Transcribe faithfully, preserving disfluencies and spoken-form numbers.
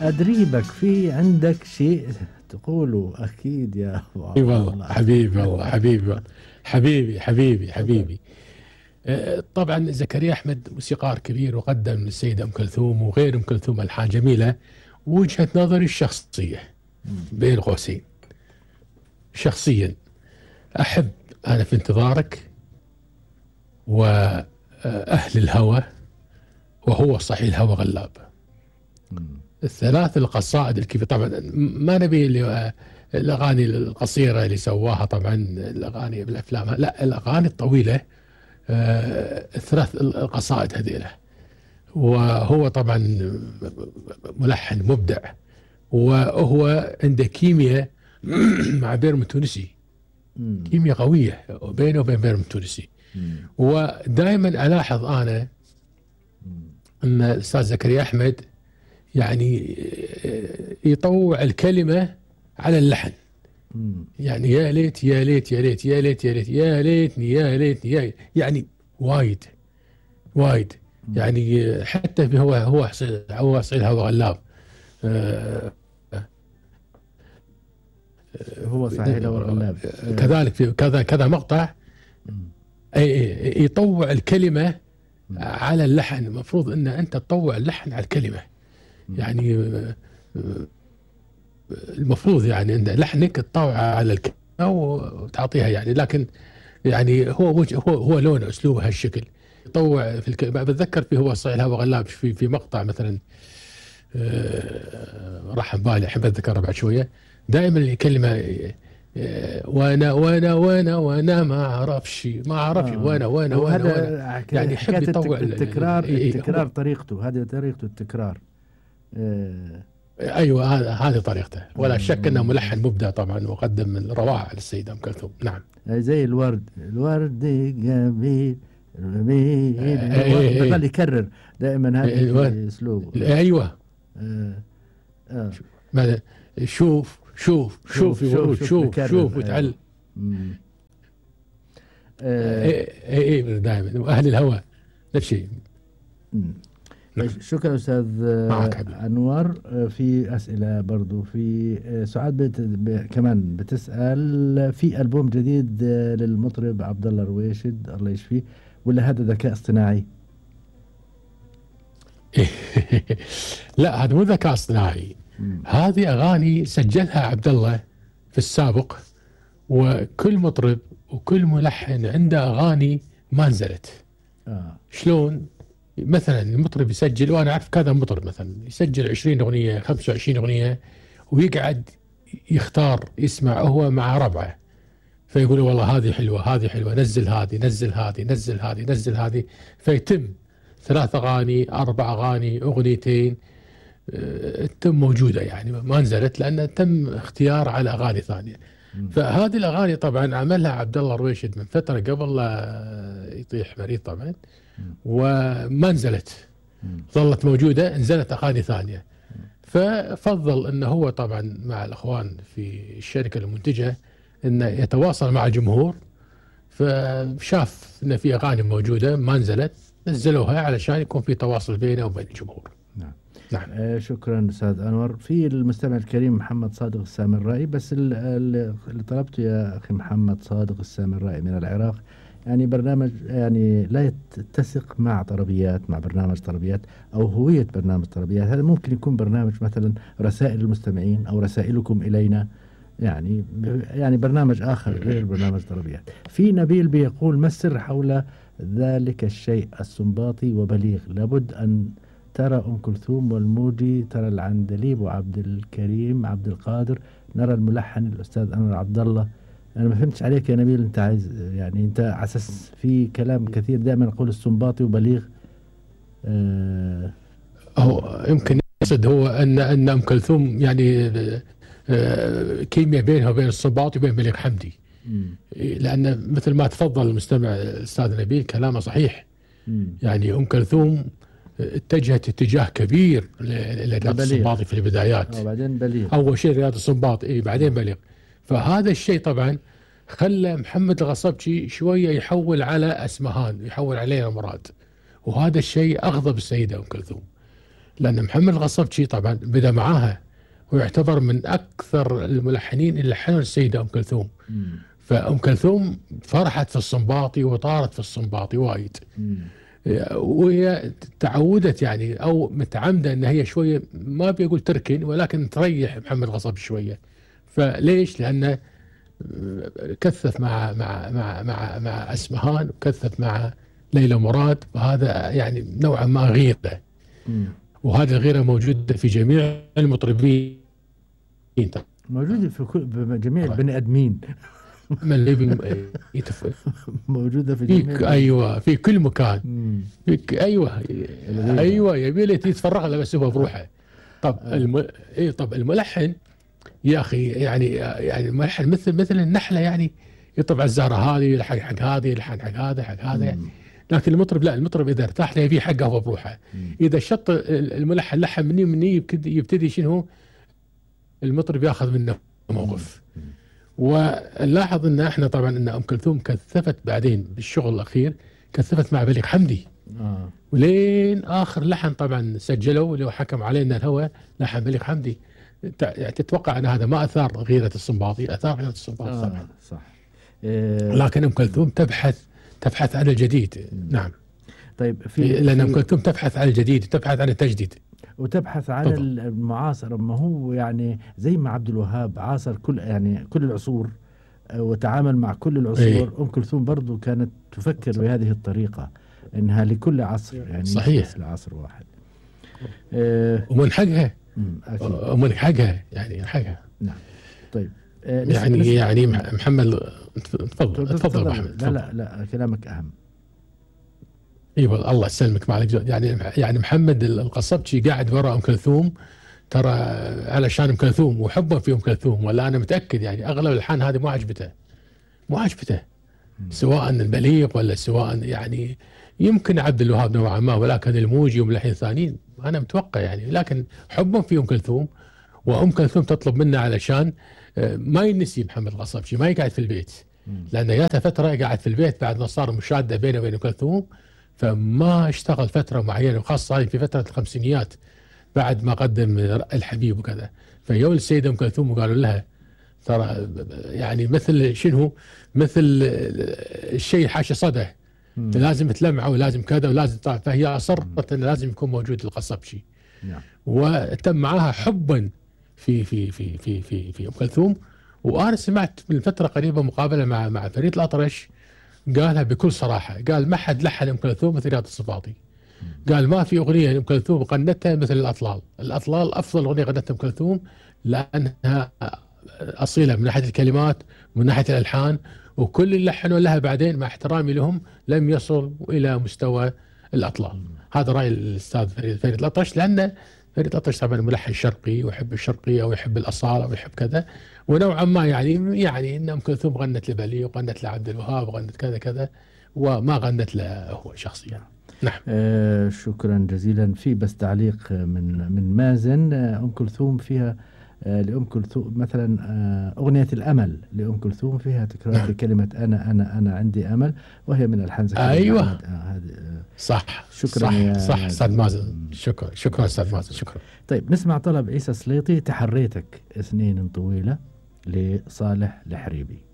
أدريبك في عندك شيء تقوله أكيد يا أبو اي عبد والله الله. حبيبي، والله حبيبي والله. حبيبي حبيبي حبيبي. آه، طبعا زكريا أحمد موسيقار كبير، وقدم للسيدة أم كلثوم وغير أم كلثوم ألحان جميلة. وجهة نظري الشخصية بين قوسين، شخصيا أحب أنا في انتظارك وأهل الهوى وهو صحيح الهوى غلاب. الثلاث القصائد الكبيرة طبعا ما نبي اللي الأغاني القصيرة اللي سواها، طبعا الأغاني بالأفلام، لا الأغاني الطويلة. آه، الثلاث القصائد هذيله، وهو طبعا ملحن مبدع، وهو عنده كيمياء مع بيرم التونسي، كيمياء قوية بينه وبين بيرم التونسي. ودائما ألاحظ أنا أن الأستاذ زكريا أحمد يعني يطوع الكلمة على اللحن، يعني يا ليت يا ليت يا ليت يا ليت يا ليت يا ليتني يا ليتني يا يعني وايد وايد يعني حتى في هو هو هو صعيد هو غلاب. آه هو صحيح هو غلاب. كذلك في كذا كذا مقطع يطوع الكلمة على اللحن. المفروض ان انت تطوع اللحن على الكلمة، يعني المفروض يعني ان لحنك تطوع على الكلمة وتعطيها يعني. لكن يعني هو وجه هو هو لونه اسلوبه هالشكل، يطوع في الكلمة. بتذكر في هو صحيح الهوى غلاب في في مقطع مثلا راح بالي، احب اتذكره بعد شويه. دائما الكلمه وانا وانا وانا وانا ما اعرفش ما اعرفش آه. وانا وانا وانا, وأنا يعني يحب يطوع التكرار. التكرار طريقته هذه، طريقته التكرار. آه. ايوه هذه طريقته، ولا شك انه ملحن مبدع طبعا، وقدم من روائع للسيده ام كلثوم. نعم زي الورد، الورد جميل جميل، بظل يكرر دائما هذا اسلوبه. ايوه آه. آه. ماذا شوف شوف شوف شوف شوف شوف وتعلم. اي اي دائما. واهل الهوى نفس الشيء. شكرا أستاذ أنور. في أسئلة برضو، في سعاد بت... ب... كمان بتسأل في ألبوم جديد للمطرب عبد الله رويشد الله يشفيه، ولا هذا ذكاء اصطناعي؟ لا هذا مو ذكاء اصطناعي، هذه أغاني سجلها عبد الله في السابق. وكل مطرب وكل ملحن عنده أغاني ما نزلت. آه. شلون؟ مثلا المطرب يسجل، وانا اعرف كذا مطرب مثلا يسجل عشرين اغنيه خمسة وعشرين اغنيه، ويقعد يختار يسمع هو مع ربعه، فيقول والله هذه حلوه هذه حلوه نزل هذه نزل هذه نزل هذه نزل هذه، فيتم ثلاث اغاني اربع اغاني اغنيتين اه تم موجوده يعني ما نزلت، لان تم اختيار على اغاني ثانيه. فهذه الاغاني طبعا عملها عبد الله رويشد من فتره قبل لا يطيح مريض طبعا، وما نزلت، ظلت موجودة، نزلت أغاني ثانية. ففضل أنه هو طبعا مع الأخوان في الشركة المنتجة أنه يتواصل مع الجمهور، فشاف أن في أغاني موجودة ما نزلت، نزلوها علشان يكون في تواصل بينه وبين الجمهور. نعم. نعم. آه شكرا أستاذ أنور. في المستمع الكريم محمد صادق السامرائي، بس اللي طلبته يا أخي محمد صادق السامرائي من العراق، يعني برنامج يعني لا يتسق مع طربيات، مع برنامج طربيات أو هوية برنامج طربيات. هذا ممكن يكون برنامج مثلا رسائل المستمعين أو رسائلكم إلينا، يعني يعني برنامج آخر غير برنامج طربيات. في نبيل بيقول ما السر حول ذلك الشيء السنباطي وبليغ؟ لابد أن ترى أم كلثوم والموجي، ترى العندليب وعبد الكريم عبد القادر، نرى الملحن الأستاذ أنور عبد الله. أنا ما فهمتش عليك يا نبيل، أنت عايز يعني أنت على أساس في كلام كثير دائما نقول السنباطي وبليغ. أه هو يمكن يقصد هو أن أن أم كلثوم يعني أه كيمياء بينها وبين السنباطي وبين بليغ حمدي. مم. لأن مثل ما تفضل المستمع الأستاذ نبيل كلامه صحيح. مم. يعني أم كلثوم اتجهت اتجاه كبير لرياض السنباطي في البدايات. وبعدين بليغ. أول شيء رياض السنباطي، إيه بعدين بليغ. فهذا الشيء طبعا خلى محمد الغصبجي شوية يحول على أسمهان، يحول علينا مراد، وهذا الشيء أغضب السيدة أم كلثوم. لأن محمد القصبجي طبعا بدأ معاها، ويعتبر من أكثر الملحنين اللي لحنوا السيدة أم كلثوم. مم. فأم كلثوم فرحت في الصنباطي وطارت في الصنباطي وايد، مم. وهي تعودت يعني أو متعمدة أن هي شوية ما بيقول تركن، ولكن تريح محمد القصبجي شوية. فليش؟ لأنه كثف مع مع مع مع مع أسمهان، وكثف مع ليلى مراد، وهذا يعني نوعا ما غيرة. مم. وهذه الغيرة موجودة في جميع المطربين، موجودة في كل بجميع البني آدمين. من اللي يتف... موجودة في جميع في ايوه في كل مكان. مم. في ايوه ايوه يبي له يتفرغ له بس هو بروحه. طب آه. الم... اي طب الملحن يا اخي يعني يعني الملحن مثل مثل النحله، يعني يطبع الزهره هذه يلحق حق هذه يلحق حق هذا حق هذا يعني. لكن المطرب لا، المطرب اذا ارتاح له يبي حقه هو بروحه. اذا شط الملحن لحن مني مني يبتدي شنو المطرب ياخذ منه موقف. ونلاحظ ان احنا طبعا ان ام كلثوم كثفت بعدين بالشغل الاخير، كثفت مع بليغ حمدي. آه. ولين اخر لحن طبعا سجلوا اللي هو حكم علينا الهوى، لحن بليغ حمدي. يعني تتوقع ان هذا ما اثار غيره الصنباطي؟ اثار غيره الصنباطي آه. طبعا. صح. إيه. لكن ام كلثوم تبحث تبحث عن الجديد. نعم. طيب في لان ام كلثوم تبحث عن الجديد، تبحث عن التجديد، وتبحث عن المعاصر. ما هو يعني زي ما عبد الوهاب عاصر كل يعني كل العصور وتعامل مع كل العصور. ايه. أم كلثوم برضو كانت تفكر بهذه الطريقة، إنها لكل عصر يعني صحيح لعصر واحد. إيه. ومن حقها أكيد. ومن حقها يعني حقها. نعم. طيب إيه يعني نسمع. يعني محمد تفضل تفضل محمد. لا لا لا كلامك أهم. ايوه الله يسلمك معلك. يعني يعني محمد القصبجي قاعد وراء ام كلثوم ترى علشان ام كلثوم وحبه في ام كلثوم، ولا انا متاكد يعني اغلب الالحان هذه مو عجبته مو عجبته سواء البليغ ولا سواء يعني يمكن عبد الوهاب نوعا ما، ولكن الموجي وملحين ثانيين انا متوقع يعني. لكن حبهم في ام كلثوم، وام كلثوم تطلب منه علشان ما ينسي محمد القصبجي، ما يقعد في البيت، لان جاته فتره قاعد في البيت بعد ما صار مشاده بينه وبين ام كلثوم، فما اشتغل فترة معينة، وخاصة في فترة الخمسينيات بعد ما قدم الحبيب وكذا. فيوم السيدة أم كلثوم وقالوا لها ترى يعني مثل شنو مثل الشيء حاشا صده، لازم تلمعه ولازم كذا ولازم طبعا. فهي أصرت أنه لازم يكون موجود القصبجي. نعم. وتم معها حبا في في في في في في أم كلثوم. وأنا سمعت من فترة قريبة مقابلة مع مع فريد الأطرش قالها بكل صراحة، قال ما حد لحن أم كلثوم مثل رياض الصفاطي. قال ما في أغنية أم كلثوم غنتها مثل الأطلال. الأطلال أفضل أغنية غنتها أم كلثوم، لأنها أصيلة من ناحية الكلمات ومن ناحية الألحان، وكل اللي لحنوا لها بعدين مع احترامي لهم لم يصل إلى مستوى الأطلال. هذا رأي الأستاذ فريد, فريد الأطرش، لأن فريد الأطرش طبعا ملحن شرقي ويحب الشرقية ويحب الأصالة ويحب كذا، ونوعا ما يعني يعني ان ام كلثوم غنت لبليغ وغنت لعبد الوهاب وغنت كذا كذا، وما غنت له هو شخصيا. نعم. آه شكرا جزيلا. في بس تعليق من من مازن. آه ام كلثوم فيها آه لام كلثوم مثلا آه اغنيه الامل لام كلثوم فيها تكرار نعم. لكلمه انا انا انا عندي امل، وهي من الحان زكريا ايوه آه هذه آه صح. شكرا صح يا صح استاذ مازن. شكرا شكرا استاذ مازن. شكرا. طيب نسمع طلب عيسى سليطي تحريتك سنين طويله لصالح الحريبي.